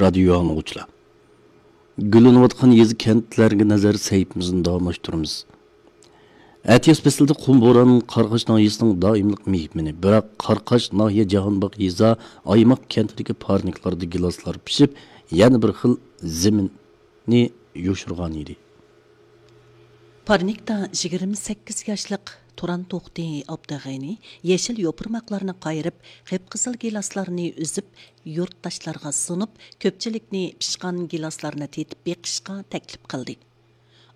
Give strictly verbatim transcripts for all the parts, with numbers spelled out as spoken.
رادىيو ئاڭلىغۇچىلار، گۈللىنىۋاتقان يېزا، كەنتلەرگە نەزەر سەھىپىمىزنى داۋاملاشتۇرىمىز. ئەتىياز پەسلىدە قۇم بوران قاراقاش ناھىيەسىنىڭ دائىملىق مېھمىنى، بىراق قاراقاش ناھىيە جاھانباغ يېزا ئايماق كەنتىدىكى پارنىكلاردا گىلاسلار پىشىپ، يەنە بىر خىل زېمىننى يوشۇرغان ئىدى. پارنىكتا يىگىرمە سەككىز ياشلىق تۇران توختى ئابدىغېنى يېشىل يوپۇرماقلارنى قايرىپ، قىپقىزىل گىلاسلارنى ئۈزۈپ، يۇرتداشلارغا سۇنۇپ، كۆپچىلىكنى پىشقان گىلاسلارنى تېتىپ بېقىشقا تەكلىپ قىلدى.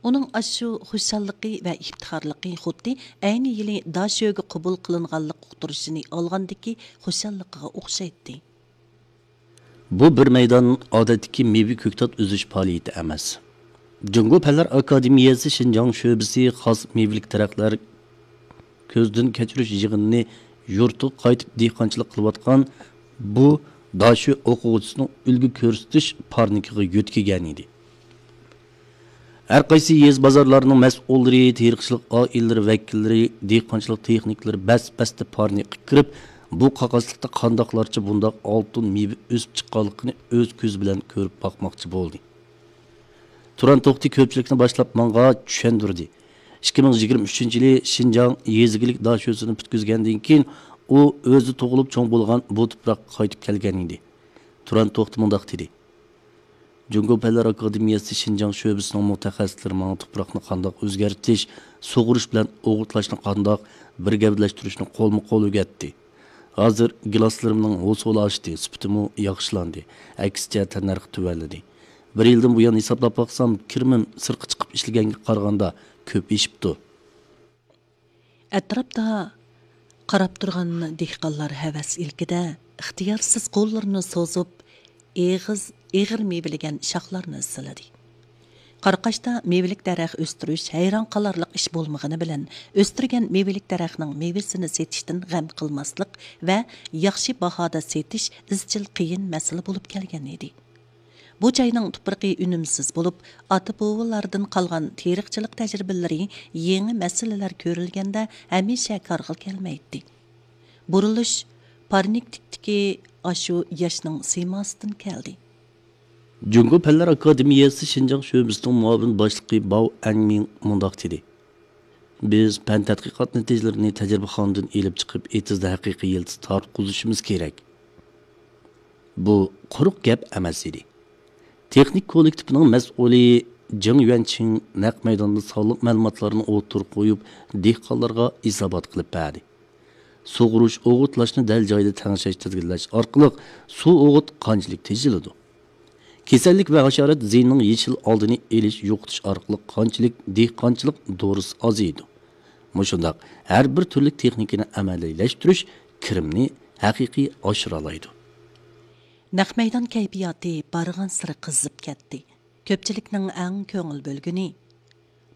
ئۇنىڭ ئاشۇ خۇشاللىقى ۋە ئىپتىخارلىقى خۇددى ئەينى يىلى داشۆگە قوبۇل قىلىنغانلىق ئۇقتۇرۇشىنى ئالغاندىكى خۇشاللىقىغا ئوخشايتتى. بۇ بىر مەيدان ئادەتتىكى مېۋە كۆكتات ئۈزۈش پائالىيىتى ئەمەس. جۇڭگو پەنلەر ئاكادېمىيەسى شىنجاڭ شۆبىسى خاس مېۋىلىك دەرەخلەر كۆزدىن كەچۈرۈش يىغىنىنى يۇرتىغا قايتىپ دېھقانچىلىق قىلىۋاتقان بۇ داشۆ ئوقۇغۇچىسىنىڭ ئۈلگە كۆرسىتىش پارنىكىغا يۆتكىگەن ئىدى. ھەر قايسى يېزا، بازارلارنىڭ مەسئۇللىرى، تېرىقچىلىق ئائىلىلىرى ۋەكىللىرى، دېھقانچىلىق تېخنىكلىرى بەس-بەستە پارنىكقا كىرىپ، بۇ قاقاسلىقتا قانداقلارچە بۇنداق ئالتۇن مېۋە ئۆسۈپ چىققانلىقىنى ئۆز كۆزى بىلەن كۆرۈپ باقماقچى بولدى. تۇران توختى كۆپچىلىكنى باشلاپ ماڭا چۈشەندۈردى. ئىككى مىڭ يىگىرمە ئۈچىنچى يىلى شىنجاڭ يېزا ئىگىلىك داشۆسىنى پۈتكۈزگەندىن كېيىن، ئۇ ئۆزى تۇغۇلۇپ چوڭ بولغان بۇ تۇپراققا قايتىپ كەلگەن ئىدى. تۇران توختى مۇنداق دېدى: جۇڭگو پەنلەر ئاكادېمىيەسى شىنجاڭ شۆبىسىنىڭ مۇتەخەسسىسلىرى ماڭا تۇپراقنى قانداق ئۆزگەرتىش، سۇغۇرۇش بىلەن ئوغۇتلاشنى قانداق بىر گەۋدىلەشتۈرۈشنى قولمۇ-قول ئۆگەتتى. ھازىر گىلاسلىرىمنىڭ ھوسۇلى ئاشتى، سۈپىتىمۇ ياخشىلاندى، ئەكسىچە تەننەرخى تۆۋەنلىدى. بىر يىلدىن بۇيان ھېسابلاپ باقسام، كىرىمىم سىرتقا چىقىپ ئىشلىگەنگە قارىغاندا كۆپ ئېشىپتۇ. ئەتراپتا قاراپ تۇرغان دېھقانلار ھەۋەس ئىلكىدە ئىختىيارسىز قوللىرىنى سوزۇپ، ئېغىز، ئېغىر مېۋىلىگەن شاخلارنى سىلىدى. قاراقاشتا مېۋىلىك دەرەخ ئۆستۈرۈش ھەيران قالارلىق ئىش بولمىغىنى بىلەن، ئۆستۈرگەن مېۋىلىك دەرەخنىڭ مېۋىسىنى سېتىشتىن غەم قىلماسلىق ۋە ياخشى باھادا سېتىش ئىزچىل قىيىن مەسىلە بولۇپ كەلگەن ئىدى. بۇ جاينىڭ تۇپرىقى ئۈنۈمسىز بولۇپ، ئاتا-بوۋىلاردىن قالغان تېرىقچىلىق تەجرىبىلىرى يېڭى مەسىلىلەر كۆرۈلگەندە ھەمىشە كارغا كەلمەيتتى. بۇرۇلۇش پارنىكتىكتىكى ئاشۇ ياشنىڭ سىيماسىدىن كەلدى. جۇڭگو پەنلەر ئاكادېمىيەسى شىنجاڭ شۆبىسىنىڭ مۇئاۋىن باشلىقى باۋ ئەنمىڭ مۇنداق دېدى: بىز پەن تەتقىقات نەتىجىلىرىنى تەجرىبىخانىدىن ئېلىپ چىقىپ، ئېتىزدا ھەقىقىي يىلتىز تارتقۇزۇشىمىز كېرەك. بۇ قۇرۇق گەپ ئەمەس ئىدى. تېخنىك كوللېكتىپىنىڭ مەسئۇلى جېڭ يۈەنچىڭ نەق مەيداندا سانلىق مەلۇماتلارنى ئوتتۇرىغا قويۇپ، دېھقانلارغا ھېسابات قىلىپ بەردى. سۇغۇرۇش، ئوغۇتلاشنى دەل جايىدا تەڭشەش، تىزگىنلەش ئارقىلىق سۇ ئوغۇت قانچىلىك تېجىلىدۇ؟ كېسەللىك ۋە ھاشارات زىيىنىنىڭ يېشىل ئالدىنى ئېلىش، يوقىتىش ئارقىلىق قانچىلىك دېھقانچىلىق دورىسى ئازىيىدۇ؟ مۇشۇنداق ھەر بىر تۈرلۈك تېخنىكىنى ئەمەلىيلەشتۈرۈش كىرىمنى ھەقىقىي ئاشۇرالايدۇ. نەق مەيدان كەيپىياتى بارغانسېرى قىزىپ كەتتى. كۆپچىلىكنىڭ ئەڭ كۆڭۈل بۆلگىنى،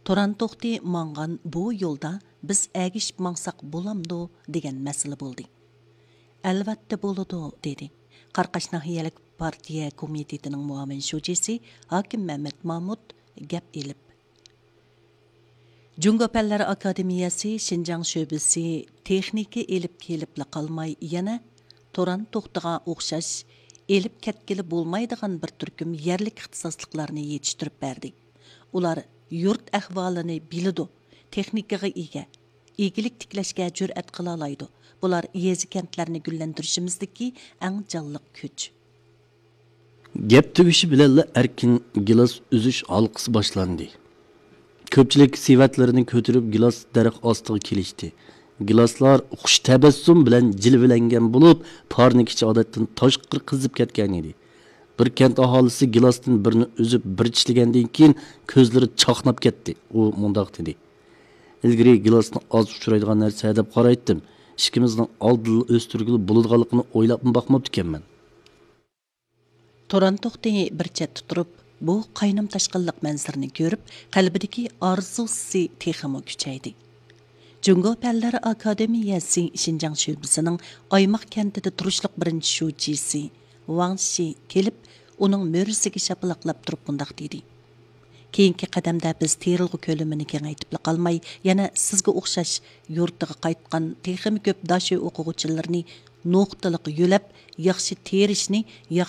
تۇران توختى ماڭغان بۇ يولدا بىز ئەگىشىپ ماڭساق بولامدۇ دېگەن مەسىلە بولدى. ئەلۋەتتە بولىدۇ، دېدى قاراقاش ناھىيەلىك پارتىيە كومىتېتىنىڭ مۇئاۋىن شۇجىسى ھاكىم مەمەت مامۇت گەپ ئېلىپ. جۇڭگو پەنلەر ئاكادېمىيەسى شىنجاڭ شۆبىسى تېخنىكا ئېلىپ كېلىپلا قالماي، يەنە تۇران توختىغا ئوخشاش ئېلىپ كەتكىلى بولمايدىغان بىر تۈركۈم يەرلىك ئىختىساسلىقلارنى يېتىشتۈرۈپ بەردى. ئۇلار يۇرت ئەھۋالىنى بىلىدۇ، تېخنىكىغا ئىگە، ئىگىلىك تىكلەشكە جۈرئەت قىلالايدۇ. بۇلار يېزا، كەنتلەرنى گۈللەندۈرۈشىمىزدىكى ئەڭ جانلىق كۈچ. گەپ تۈگىشى بىلەنلا ئەركىن گىلاس ئۈزۈش ھالقىسى باشلاندى. كۆپچىلىك سېۋەتلىرىنى كۆتۈرۈپ، گىلاس دەرەخ ئاستىغا كېلىشتى. گىلاسلار خۇش تەبەسسۇم بىلەن جىلۋىلەنگەن بولۇپ، پارنىك ئىچى ئادەتتىن تاشقىرى قىزىپ كەتكەن ئىدى. بىر كەنت ئاھالىسى گىلاستىن بىرنى ئۈزۈپ، بىر چىشلىگەندىن كېيىن، كۆزلىرى چاقناپ كەتتى. ئۇ مۇنداق دېدى: ئىلگىرى گىلاسنى ئاز ئۇچرايدىغان نەرسە دەپ قارايتتىم. ئىككىمىزنىڭ ئالدىنلا ئۆستۈرگىلى بولىدىغانلىقىنى ئويلاپمۇ باقماپتىكەنمەن. تۇران توختى بىر چەتتە تۇرۇپ، بۇ قاينام تاشقىنلىق مەنزىرىنى كۆرۈپ، قەلبىدىكى ئارزۇسى تېخىمۇ كۈچەيدى. جۇڭگو پەنلەر ئاكادېمىيەسى شىنجاڭ شۆبىسىنىڭ ئايماق كەنتىدە تۇرۇشلۇق بىرىنچى شۇجىسى ۋاڭ شى كېلىپ، ئۇنىڭ مۈرىسىگە شاپىلاقلاپ تۇرۇپ مۇنداق دېدى: كېيىنكى قەدەمدە بىز تېرىلغۇ كۆلىمىنى كېڭەيتىپلا قالماي، يەنە سىزگە ئوخشاش يۇرتىغا قايتقان تېخىمۇ كۆپ داشۆ ئوقۇغۇچىلىرىنى نۇقتىلىق يۆلەپ، ياخشى تېرىشنى، ياخشى